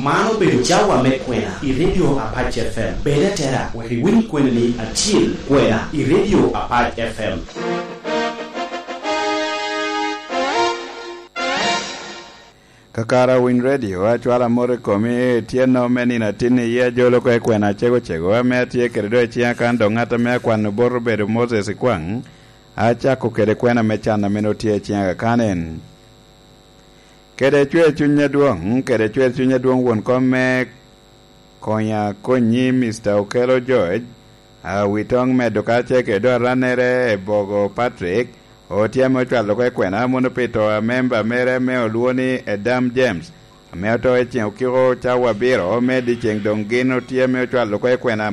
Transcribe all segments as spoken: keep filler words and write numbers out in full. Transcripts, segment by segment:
Man obedo cawa me kwena i Radio Apac F M. Bed atera wek iwiny kweni ni acil kwena i Radio Apac F M. Kakara Winy Radio, acwalo amot i komi, tyenno me nino atin iye ajolo oko i kwena acego cego, ame atye kede do i ciŋa kan dok ŋat ame akwano bot obedo Moses Ikwaŋ, acako kede kwena me can ame nwoŋo tye i ciŋa kan en. Kede cwer cuny adwoŋ, kede cwer cuny adwoŋ won kom me Konya Konyi, Mister Okello George, a, Witoŋ medo karacel kede do arannere i Bogo Patrick, otye ame ocwalo oko i kwena mono pi to a memba mere ame olwoŋo ni Edam James, ame oto i ceŋ okiko cawa abiro me dyeceŋ, doŋ gin otye ame ocwalo oko i kwena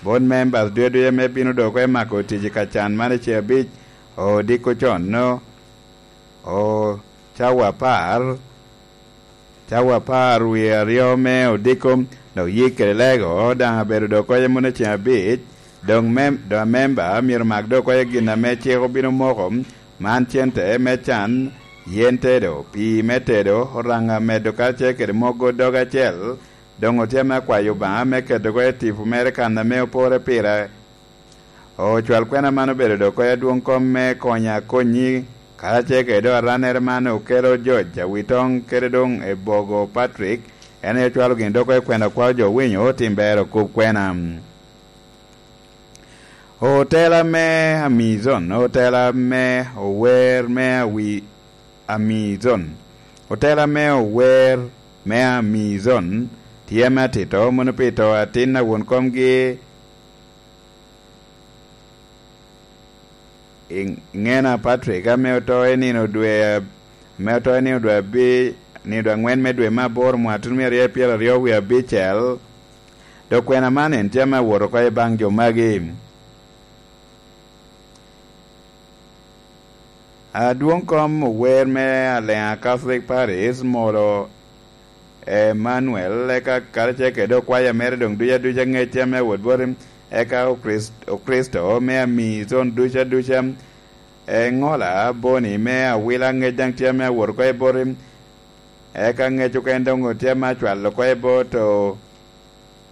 bot members ducu ducu ame bino doŋ oko i mako tic i ka can man i ceŋ abic odiko con, no, o, cawa apar, cawa apar wie aryo me odiko, dok yik kede lego daŋ abedo dok oko i mune ceŋ abic, doŋ mem-, doŋ amemba myero mak dok oko i gin ame cik obino moko, man cente me can, yen tedo, pii me tedo, oraŋa medo karacel kede mogo dog acel, doŋ otye ame akwayo Obaŋa me keto oko i tipo mere kan ame opore pire. Ocwal kwena man obedo dok oko i adwoŋ kom me Konya Konyi, karacel kede do arannere man Okello George Awitoŋ kede doŋ Ebogo Patrick, en aye ocwalo gin dok oko i kwena kwao jo winyo tim ber okub kwena. Otela me Amizon, otela me ower me awi Amizon, otela me ower me Amizon, tye me atito mono pi to atin a won komgi Iŋena Patrick, ame oto i nino dwe, ame oto i nino dwe abi-, nino dwe aŋwen me dwe me aboro mwaka tuno mia aryo pyeraryo wie abicel, dok kwena man en tye ame awot oko i baŋ jo magi. Adwoŋ kom ower me Aleŋa Catholic Parish molo Emmanuel, eka karacel kede okwaya mere doŋ ducu aduca ŋecce ame awot boti, eka Okrist-, Okricito me Amizon ducu aduca, eŋola boni me awila ŋec daŋ tye ame awot oko i boti, eka ŋec okene doŋ otye ame acwalo oko i bot o-,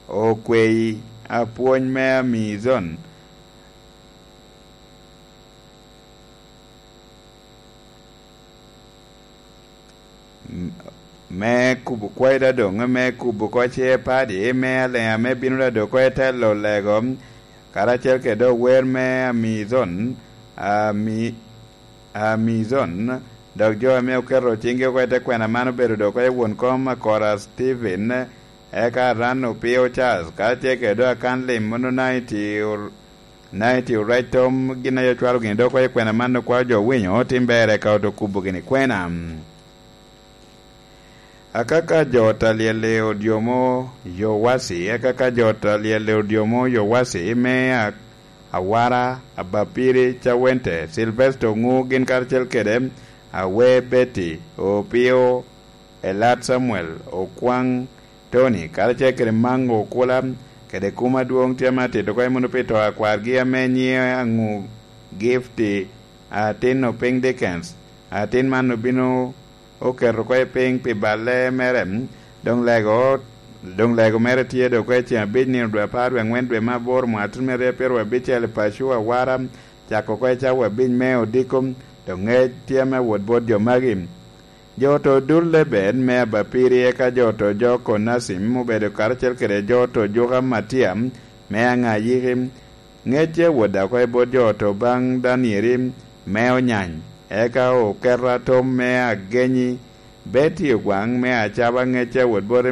okweyi apwony me Amizon. M-, me kubo kwayo da doŋ, me kubo oko ce padi, me Aleŋa me bino da dok oko i telo lego, karacel kede ower me Amizon, Ami-, Amizon, dok jo ame oketo ciŋgi oko i te kwena man obedo dok oko i won kom Akora Stephen, eka Aran Opio Charles, karacel kede do akan lim mono Naiti Or-, Naiti Orec Tom, gin aye ocwalo gini dok oko i kwena man okwao jo winyo, tim ber eka oto kubo gini kwena. Akaka jo ot a lyel i odyomo Yowasi, akaka jo ot a lyel i odyomo Yowasi me a-, Awara, Abapiri, Cawente, Silvesto Ŋu, gin karacel kede Awe Betty, Opio, Elat Samuel, Okwaŋ Tony, karacel kede Maŋ Okula, kede kum adwoŋ tye ame atito oko i munu pi to a kwargi ame nyiŋe Aŋu Gifti, atin Opiny Dickens, atin man obino oketo oko i piny pi balle mere, doŋ lego, doŋ lego mere tye dok oko i ceŋ abic nino dwe apar dwe aŋwen dwe me aboro mwaka tuno me aryo pyeraryo abicel i paco Awara, cako oko i cawa abic me odiko, doŋ ŋec tye ame wot bot jo magi. Jo oto Dul Leben me Abapiri, eka jo oto Joko Nacim obedo karacel kede jo oto Juka Matia me Aŋayiki, ŋecce wot dako i bot jo oto baŋ Danieri me Onyany, eka Oketa Tom me Agenyi, Betty Ogwaŋ me Acaba, ŋecce wot bot